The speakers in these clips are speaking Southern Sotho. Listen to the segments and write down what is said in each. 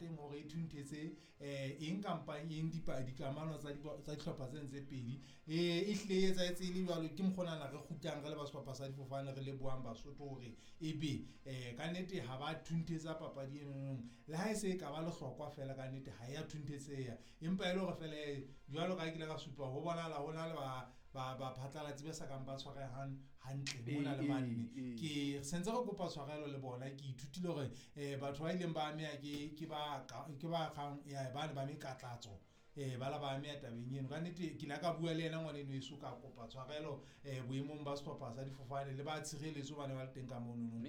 teng hore e thunthetse eng kampa eng dikamano tsa dihlopha tsena tse pedi. E hlile e etsahetse e le jwalo, ke mokgonana re kgutlang re le ba sehlopha sa difofane re lebohang Basotho hore ebe ka nnete ha ba thunthetsa papadi eno. Le ha e se e ka ba lehlokwa fela, ka nnete ha ya thunthetseha, empa e le hore fela jwalo ka ha ke ile ka supa ho bonahala ho na le ba phatlalatsi ba sa kang ba tshwarehang hantle mona le mane. Ke sentse re kopa tshwarelo le bona. Ke ithutile hore batho ba ileng ba ameha ke ba kgang ya bane ba mekatlatso, ba la ba ameha tabeng eno. Ka nnete ke la ka bua le yena ngwaneno eso, ka kopa tshwarelo boemong ba sehlopha sa difofane le ba tshireletso ba ne ba le teng ka monono.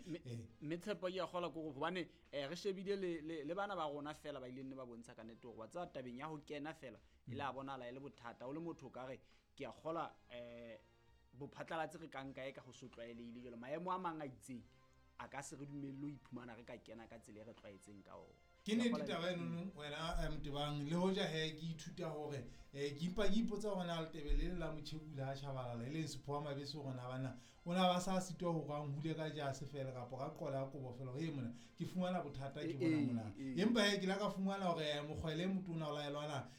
Mme Tshepo ke a kgolwa ke hore hobane re shebile le bana ba rona fela ba ileng ne ba bontsha ka nnete hore wa tseba tabeng ya ho kena fela e la bonahala e le bothata. O le motho o ka re ke a kgolwa bophatlalatsi re ka nka e ka ho so tlwaelehile jwalo. Maemo a mang a itseng a ka se re dumelle ho iphumana re ka kena ka tsela e re tlwaetseng ka ona. Ke nnete taba eno wena Motebang, le hoja he ke ithuta hore ke mpa ke ipotsa hore na Letebele le la Motjhekula ha Tshabalala e leng Sephowa Mabese hore na bana o na ba sa sitwa hore a nhule ka jase fela kapa ka qola ya kobo fela hore mona ke fumana bothata ke bona mona. Empa he ke la ka fumana hore mokgwele motona o laelwana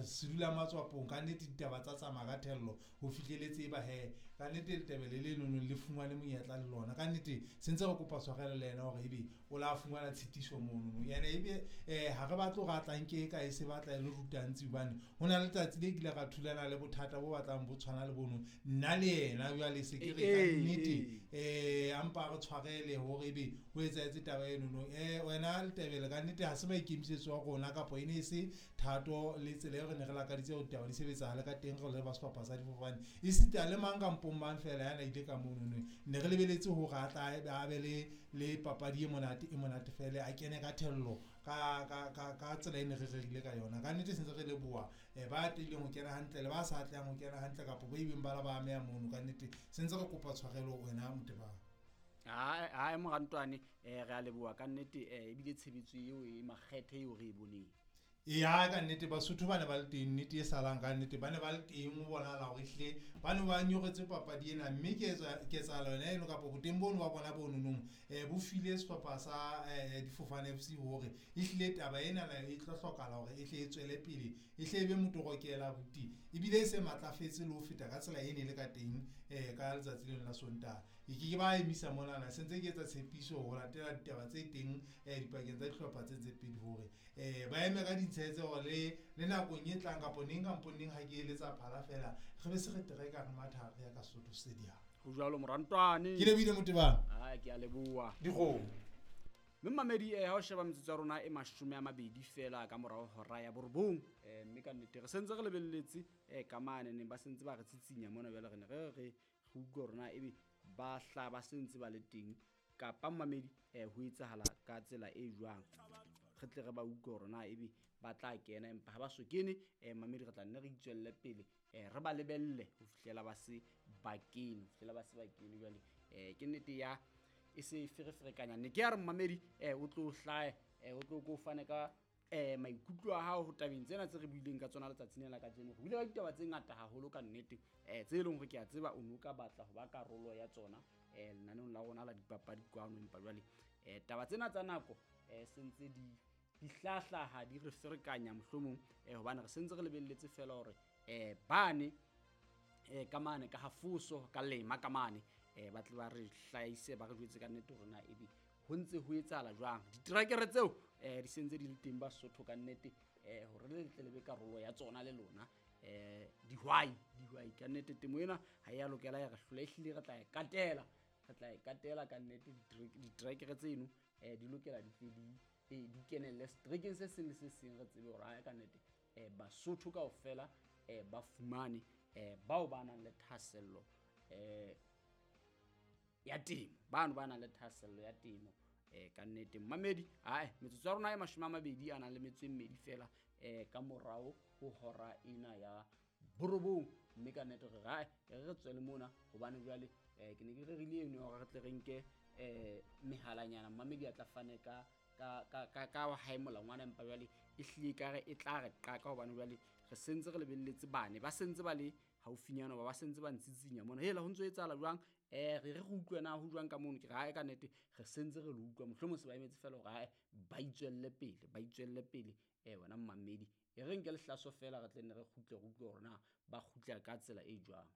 sedula matswapong, ka nnete ditaba tsa tsamaya ka thello ho fihleletse ba he ka nnete Letebele le nono le fumane monyetla le lona. Ka nnete sentse re kopa tshwarelo le yena hore ebe o la fumana tshitiso mono. Yena ebe ha re batle hore a tla nke ka e se batla e le rutantsi, hobane ho na le letsatsi le kile ra thulana le bothata bo batlang bo tshwana le bono nna le yena. Jwale se ke re ka nnete a mpa re tshwarele hore ebe ho etsahetse taba eno no. Wena Letebele ka nnete ha se maikemisetso a rona kapa e ne e se thato le tsela e re ne re lakaditse hore ditaba di sebetsahale ka teng re le ba sehlopha sa difofane, esita le mang kampong mang fela ya na ile ka mono no. Ne re lebeletse hore a tla a be le papadi e monate e monate fela, a kene ka thello ka tsela e ne re rerile ka yona. Ka nnete sentse re leboha ba atlehileng ho kena hantle le ba sa atlehang ho kena hantle kapa ba ileng ba la ba ameha mono. Ka nnete sentse re kopa tshwarelo wena Motebang. Ha morantwane re a leboha ka nnete, ebile tshebetso eo e makgethe eo re e boneng. Ya ka nnete Basotho ba ne ba le teng, nnete e salang ka nnete ba ne ba le teng, ho bonahala hore ehlile ba ne ba nyoretswe papadi ena, mme ketsahalo yona eno kapa boteng bono ba bona bo nonong bo file sehlopha sa Difofane FC hore ehlile taba ena e tlo hlokahala hore e hle e tswele pele, e hle e be motorokela buti, ebile e se matlafetse le ho feta ka tsela e ne le ka teng ka letsatsi leno la Sontaha. E ke ke ba emisa monana, sentse ke etsa tshepiso ho latela ditaba tse teng dipakeng tsa dihlopha tse pedi hore ba eme ka ditshetse hore le nakong e tlang kapa neng kampo neng ha ke eletsa phala fela re be se re tereka re matha re ya ka Sesotho Stadium. Ho jwalo morantwane. Ke lebile Motebang. Ke a leboha. Dikgomo. Mme mamedi ha o sheba metsotso ya rona e 20 fela ka morao hora ya 9, mme ka nnete re sentse re lebelletse ka mane neng ba sentse ba re tsitsinya mona jwale re ne re re utlwe hore na ebe ba hla ba sentse ba le teng kapa mamedi ho etsahala ka tsela e jwang, re tle re ba utlwe hore na ebe ba tla kena, empa ha ba so kene mamedi re tla nne re itswelle pele re ba lebelle ho fihlela ba se ba kene, ho fihlela ba se ba kene. Jwale ke nnete ya e se fereferekanya ne ke ya re mamedi o tlo hlahe o tlo ko fane ka maikutlo a hao ho tabeng tsena tse re buileng ka tsona letsatsing lena la kajeno. Re buile ka ditaba tse ngata haholo ka nnete tse leng hore ke a tseba o no ka batla ho ba karolo ya tsona lenaneong la rona la dipapadi kwano, empa jwale taba tsena tsa nako sentse di hlahlaha di re ferekanya mohlomong hobane re sentse re lebelletse fela hore bane ka mane ka hafoso ka lema ka mane ba tle ba re hlahise ba re jwetse ka nnete hore na ebe ho ntse ho etsahala jwang. Diterekere tseo di sentse di le teng Basotho ka nnete hore le tle le be karolo ya tsona le lona dihwai ka nnete temo ena ha ya lokela ya re hlola, ehlile re tla e katela, re tla e katela ka nnete. Diterekere tseno di lokela di tle di kenelle seterekeng se seng le se seng, re tsebe hore ha ka nnete Basotho kaofela ba fumane bao ba nang le thahasello ya temo, bano ba nang le thahasello ya temo ka nnete. Mamedi metsotso ya rona e 22 a nang le metso e mmedi fela ka morao ho hora ena ya 9, mme ka nnete re re re tswele mona hobane jwale ke ne ke rerile eno hore re tle re nke mehalanyana mamedi a tla fane ka ka hae molangwana, empa jwale e hlile ka re e tla re qaka hobane jwale re sentse re lebelletse bane ba sentse ba le haufinyana ba sentse ba ntsitsinya mona hela ho ntso etsahala jwang. Re re utlwe na ho jwang ka mono, ke re hae ka nnete re sentse re le utlwa, mohlomong se ba emetse fela hore hae ba itswelle pele, ba itswelle pele. Wena mmamedi, e re nke lehlaso fela re tle nne re kgutle, re utlwe hore na ba kgutla ka tsela e jwang.